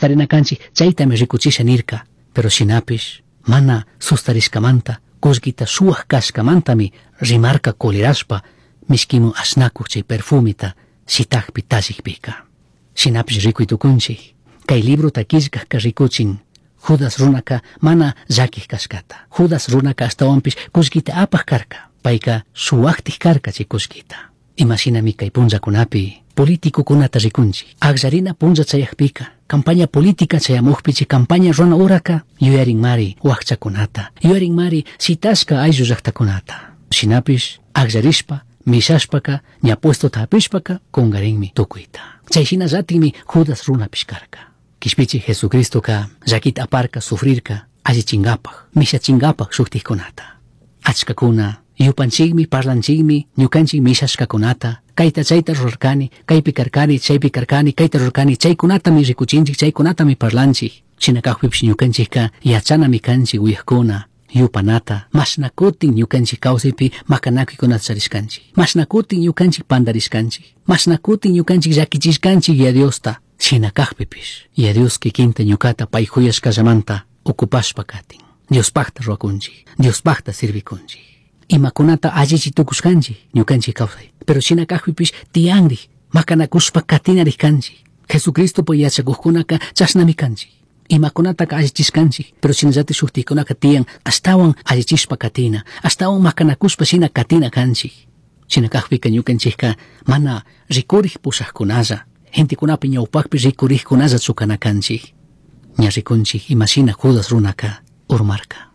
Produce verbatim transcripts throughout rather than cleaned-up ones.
Tarina kanchik chaytami rikuchisha nirka. Pero shinapish mana sustarishkamanta kullkita suwak kashkamantami rimarka kolirashpa mishkimun ashnakuq chay perfumita shitakpi tallikpika. Shinapish rikuy tukunchik kay librota killkajka rikuchin Judas runaka mana llakij kashkata. Judas runaka ashtawanpish kullkita apaj karka. Payka suwaktik karka chay kullkita. Imashinami kay punllakunapi politicokunata rikunchik. Akllarina punlla chayakpika campaña política chayamukpi chay campaña runa uraka yuyarinmari wakchakunata, yuyarinmari shitashka ayllu llaktakunata. Shinapish akllarishpa mishashpaka ña puestota hapishpaka kungarinmi tukuyta. Chay shinallatikmi Judas runapish karka. Kishpichi Jesucristoka llakita aparka sufrirka allichinkapaj mishachinkapak shuktikkunata. Achkakuna yupanchikmi parlanchikmi ñukanchik mishashkakunata kayta chayta rurarkani kaypi karkani chaypi karkani kayta rurarkani chaykunatami rikuchinchik chaykunatami parlanchik. Shina kakpipish ñukanchikka yachanami kanchik uyakuna yupanata mashna kutin ñukanchik kawsaypi makanakuykunata charishkanchik mashna kutin ñukanchik pandarishkanchik mashna kutin ñukanchik llakichishkanchik ya Diosta. Shina kakpipish ya Dios kikinta ñukata pay huyashkallamanta ocupashpa katin. Diospakta ruwakunchik, Diospakta sirvikunchik. Imakunata allichi tukushkanchik ñukanchik kawsay. Pero shina kakpipish tiyanrik makanakushpa katinarik kanchik. Jesucristopa yachakuqkunaka chashnami kanchik. Imakunataka allichishkanchik, pero shinallatik shuktikunaka tiyan ashtawan allichishpa katina, ashtawan makanakushpa shina katina kanchik. Shina kakpika ñukanchikka mana rikurik pushaqkunalla, gentekunapi ñawpakpi rikurikkunalla chukana kanchik. Ña rikunchik imashina Judas runaka urmarka.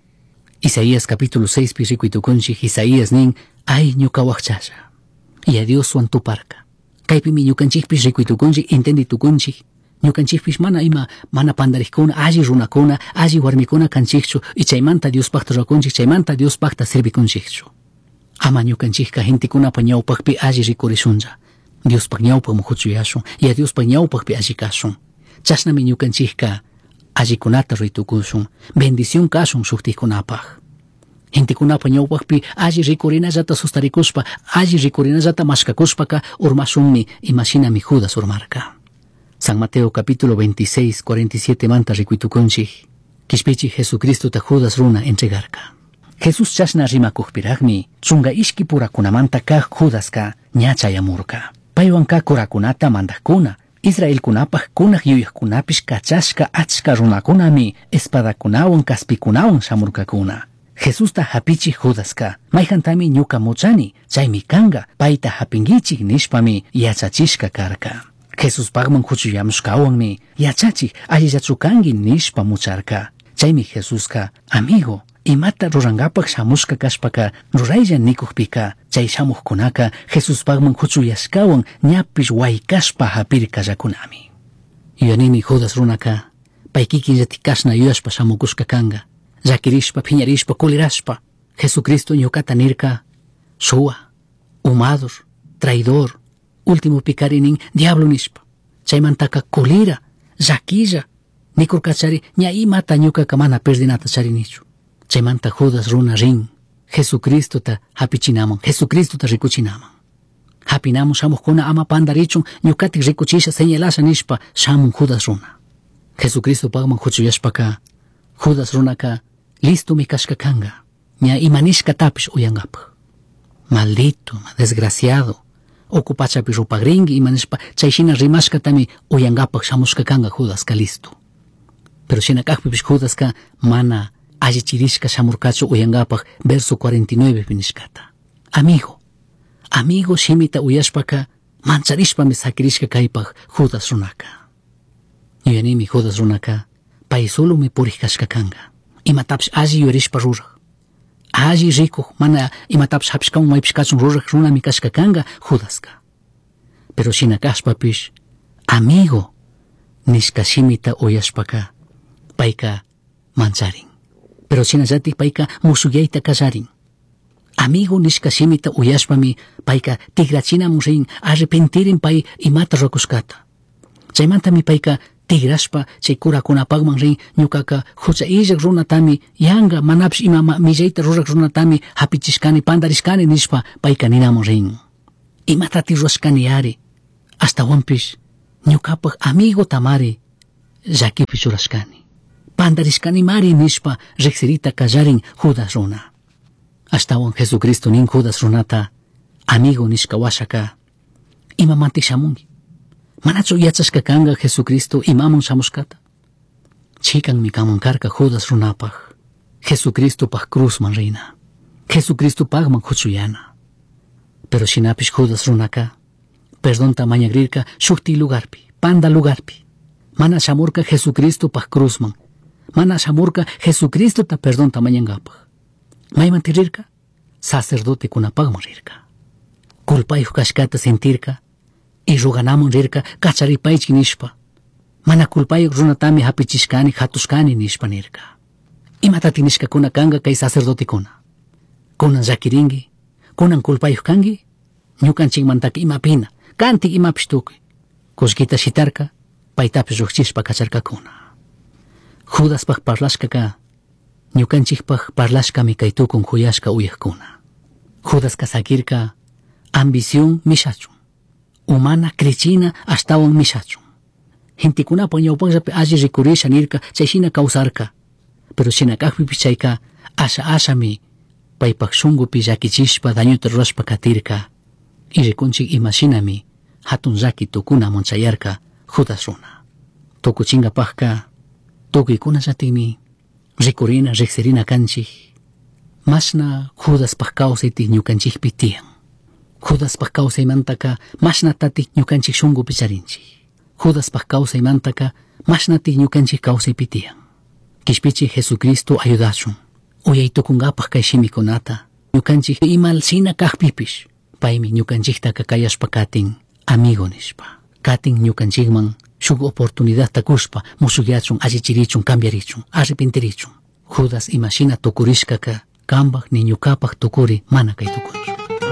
Isaías capítulo seis pi rikuy tukunchik Isaías nin ay ñuka wakchalla. Y a Dioswan tuparka. Kaypimi ñukanchikpish rikuy tukunchik entendi tukunchik. Ñukanchikpish mana ima mana pandarikkuna alli runakuna alli warmikuna kanchikchu y chaymanta Diospakta ruwakunchik chaymanta Diospakta servikunchikchu. Ama ñukanchikka gentekunapa ñawpakpi alli rikurishunlla. Diospaq ñawpaqman huchuyashun y a Diospaq ñawpaqpi alli kashun. Chashnami ñukanchikka allikunata ruytukushun, bendición kashun shuktikunapaq. Gentekunapa ñawpaqpi alli rikurinallata sustarikushpa, alli rikurinallata mashkakushpaka urmashunmi imashinami Judas urmarka. San Mateo capítulo veintiséis, cuarenta y siete manta rikuytukunchik, kishpichi Jesucristota Judas runa entregarka. Jesús chashna rimakukpiraqmi chunka ishki purakunamanta kaq Judaska ña chayamurka. Paywan kaq kurakunata mandaqkuna, Israelkunapaq kunaq yuyaqkunapish kachashka achka runakunami espadakunawan kaspikunawan shamurkakuna. Jesusta hapichik Judaska, mayjantami ñuka muchani, chaymi kanga, payta hapinkichik nishpami yachachishka karka. Jesuspaqman huchuyamushkawanmi yachachik allillachu kanki nishpa mucharka. Chaymi Jesuska, amigo, imata rurankapak shamushka kashpaka ruraylla nikukpika chay shamuqkunaka Jesuspaqman huchuyashkawan ñapish waykashpa hapirkallakunami. Yuyanimi Judas runaka pay kikinllatik kashna yuyashpa shamukushka kanka, llakirishpa, phiñarishpa, kulirashpa. Jesucristo ñukata nirka suwa, umador, traidor, último pikarinin diablo nishpa. Chaymantaka kulira, llakilla, nikurkachari ña imata ñukaka mana perdinata charinichu. Chaymanta Judas runa rin, Jesucristota hapichinaman, Jesucristota rikuchinaman. Hapinamun shamuqkuna ama pandarichun ñukatik rikuchisha señalasha nishpa shamun Judas runa. Jesucristo paqman huchuyashpaka Judas runaka listomi kashka kanga, ña imanishkatapish uyankapaq. Maldito, desgraciado, uku pachapi rupagrinki imanishpa chay shina rimashkatami uyankapaq shamushka kanga Judaska listo. Pero shina kaqpipish Judaska mana allichirishka shamurkachu uyankapaq verso cuarenta y nueve nishkata. Amigo, amigo shimita uyashpaka mancharishpami sakirishka kaypaq Judas runaka. Yuyanimi Judas runaka pay solomi purik kashka kanka. Imatapish alli yuyarishpa ruraq. Alli rikuq mana imatapish hapishkawan maypish kachun ruraq runami kashka kanka Judaska. Pero shina kashpapish amigo nishka shimita uyashpaka payka mancharin. Pero shinallatik payka musuyayta kallarin. Amigo nishka shimita uyashpami payka tigrachinamun rin arrepentirin pay imata ruwakushkata. Chaymantami payka tigrashpa chay kurakunapaqman rin ñukaka hucha illaq runatami yanka manapish ima millayta ruraq runatami hapichishkani pandarishkani nishpa payka ninamun rin. Imatati ruwashkani ari, ashtawanpish ñukapaq amigo tamari llaquipi churashcani. Pandarishcanimari nishpa riqsirita qallarin Judas runa. Ashtawan Jesucristo nin Judas runata amigo nishka washaka imamantik shamunki. Manachu yachashka kanga Jesucristo imamun shamushkata. Chikanmi kamun karka Judas runapaj. Jesucristopaj cruzman rina. Jesucristopajman huchuyana. Pero shinapish Judas runaka perdonta mañagrirka shukti lugarpi, panda lugarpi. Mana shamurka Jesucristopaj cruzman. Mana shamurka Jesucristota perdonta mañangapaj. Mayman rirka? Sacerdotekunapajman rirka. Culpayuq kashkata sentirka y ruganamun rirka kacharipaychik nishpa. Mana culpayuq runatami hapichishkani hatushkani nishpa nirka. Imatati nishkakuna kanga kay sacerdotekuna. Kunan llakirinki, kunan culpayuq kanki, ñukanchikmantaka imapina, kantik imapish tukuy. Kullkita shitarka, paytapish llukchishpa kacharkakuna. Judaspaj parlashkaka, ñukanchikpaj parlashkami kay tukun kuyashka uyakuna. Judaska sakirka ambición mishachun, umana krichina ashtawan mishachun. Gentekunapa ñawpaqllapi alli rikurisha nirka chayshina kawsarka. Pero shina kaqpipish chayka asha ashami paypaq shunkupi llakichishpa dañuta rurashpa katirka. Y rikunchik imashinami hatun llaki tukunamun chayarka Judas runa. Tukuchinkapaqka tukuykunallatikmi rikurina riqsirina kanchik mashna Judaspaq kawsaytik ñukanchikpi tiyan. Judaspaq kawsaymantaka mashnatatik ñukanchik shunkupi charinchik. Judaspaq kawsaymantaka mashnatik ñukanchik kawsaypi tiyan. Kishpichik Jesucristo ayudachun. Uyaytukunkapaq kay shimikunata ñukanchik imal shina kaqpipish paymi ñukanchiktaka kayashpa katin amigo nishpa. Katin ñukanchikman shuk oportunidadta kushpa mushukyachun allichirichun cambiarichun arrepentirichun. Judas imashina tukurishkaka kambaj ni ñukapaj tukuri mana kay tukunchu.